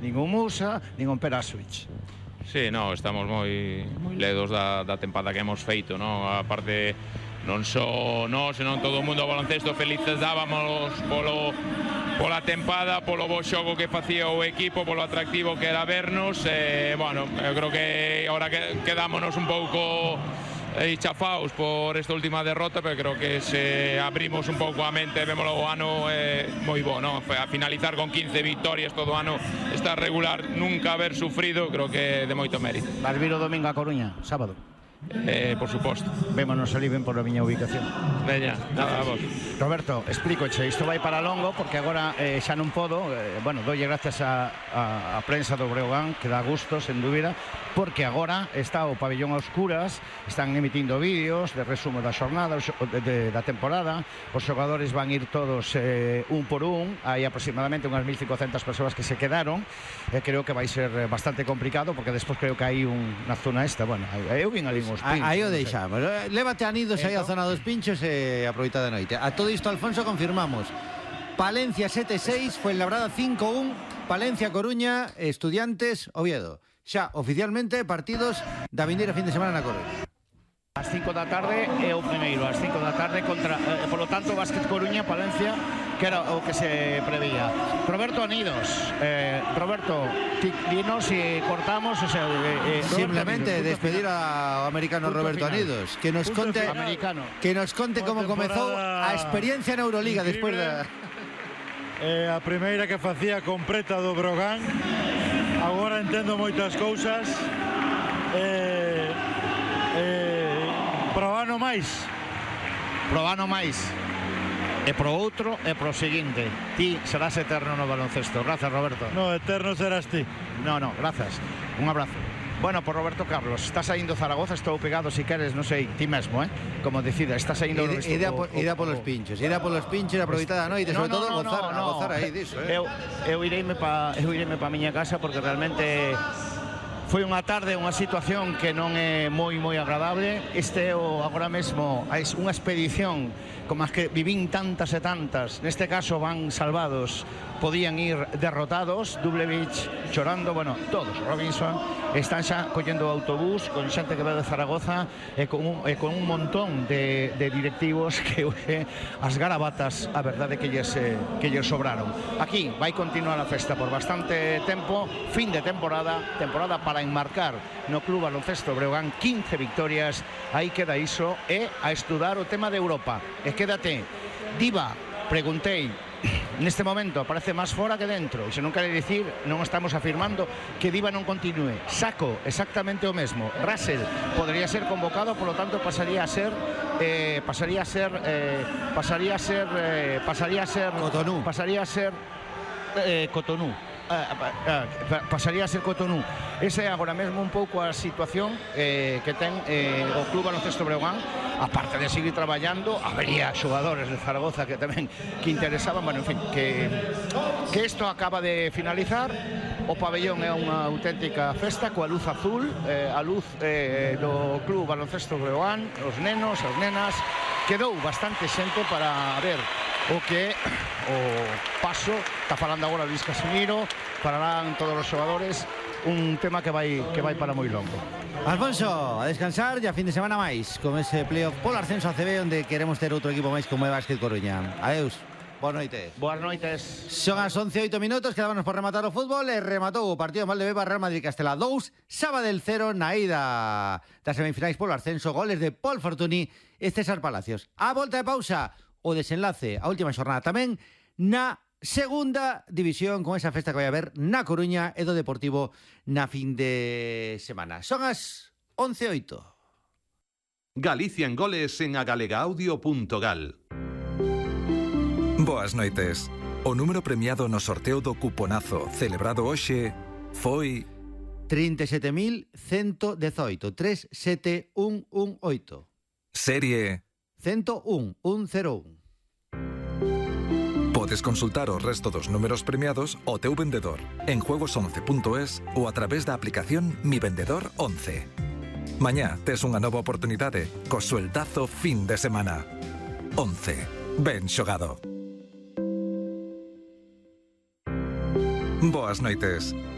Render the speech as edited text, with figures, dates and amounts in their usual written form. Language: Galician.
nin o Musa, nin o Perasovic. Sí, no, estamos moi ledos da tempada que hemos feito, no? Aparte, non só nós, senón todo o mundo do baloncesto felices dábamos pola tempada, polo bo xogo que facía o equipo, polo atractivo que era vernos. Bueno, eu creo que agora quedámonos un pouco chafaos por esta última derrota, pero creo que se abrimos un pouco a mente, vémolo o ano moi bo, ¿no? A finalizar con 15 victorias todo o ano, estar regular, nunca haber sufrido, creo que de moito mérito. Vas vir o domingo a Coruña, sábado? Por suposto. Vémonos ali ben por a miña ubicación. Veña, nada, vos. Roberto, explícoche, isto vai para longo porque agora xa non podo, bueno, dolle gracias a prensa do Breogán, que dá gusto, sen dúbida, porque agora está o pabellón a oscuras, están emitindo vídeos de resumo da xornada, da temporada, os xogadores van ir todos un por un, hai aproximadamente unhas 1.500 persoas que se quedaron, creo que vai ser bastante complicado, porque despois creo que hai na zona esta, bueno, eu vin ali uns pinchos. Aí o deixamos, lévate a nidos aí a zona dos pinchos e aproveita de noite. A todo isto, Alfonso, confirmamos Palencia 7-6, Fuenlabrada 5-1, Palencia, Coruña, Estudiantes, Oviedo. Xa, oficialmente, partidos da vindeira fin de semana na Coruña. Ás 5 da tarde é o primeiro, ás 5 da tarde contra, polo tanto, Básquet Coruña, Palencia, que era o que se preveía. Roberto Anidos, Roberto, dinos si cortamos, o sea, simplemente Anidos, despedir ao americano Roberto Anidos, que nos conte como comezou a experiencia na Euroliga despois da a primeira que facía completa do Brogan. Agora entendo moitas cousas. Pro ano máis e pro outro e pro seguinte. Ti serás eterno no baloncesto. Gracias, Roberto. No, eterno serás ti. No, gracias. Un abrazo. Bueno, por Roberto Carlos, está saindo Zaragoza, estou pegado, si queres, non sei, ti mesmo, como decida, está saindo... Ida polos pinchos, aproveitar a noite, sobre todo gozar aí diso. Eu ireime pa miña casa porque realmente foi unha tarde, unha situación que non é moi agradable. Este é agora mesmo unha expedición como as que vivín tantas e tantas, neste caso van salvados, podían ir derrotados, Dublevich chorando, bueno, todos, Robinson, están xa collendo o autobús con xente que ve de Zaragoza e con un montón de directivos que as garabatas, a verdade que lles sobraron. Aquí vai continuar a festa por bastante tempo, fin de temporada para enmarcar no Club Baloncesto Breogán 15 victorias, aí queda iso, e a estudar o tema de Europa. E quédate, Diva, preguntei, neste momento aparece máis fora que dentro, e se non quere dicir, non estamos afirmando que Diva non continúe. Saco exactamente o mesmo. Russell podría ser convocado, polo tanto pasaría a ser Cotonou. Pasaría a ser Cotonou. Esa é agora mesmo un pouco a situación que ten o Club Baloncesto Breogán. Aparte de seguir traballando, habería xogadores de Zaragoza que tamén que interesaban, bueno, en fin, que isto acaba de finalizar. O pabellón é unha auténtica festa coa luz azul, a luz do Club Baloncesto Breogán, os nenos, as nenas. Quedou bastante xente para ver o que o paso, está falando agora Luis Casimiro, pararán todos os xogadores, un tema que vai para moi longo. Alfonso, a descansar e a fin de semana máis con ese playoff polo ascenso a CB, onde queremos ter outro equipo máis como é Básquet Coruña. Adeus. Boas noites. Boas noites. Son as 11:08 minutos, quedámonos por rematar o fútbol e rematou o partido Valdebeba Real Madrid Castela 2, Sabadell 0 na ida das semifinais polo ascenso, goles de Paul Fortuny e César Palacios. A volta de pausa, o desenlace, a última xornada tamén na segunda división, con esa festa que vai haber na Coruña e do Deportivo na fin de semana. Son as 11:08. Galicia en goles en agalegaudio.gal. Boas noites. O número premiado no sorteo do cuponazo celebrado hoxe foi 37.118, 37118. Serie 101, 101. Podes consultar o resto dos números premiados ao teu vendedor en juegos11.es ou a través da aplicación Mi Vendedor 11. Mañá tes unha nova oportunidade co sueldazo fin de semana. 11. Ben xogado. Boas noites.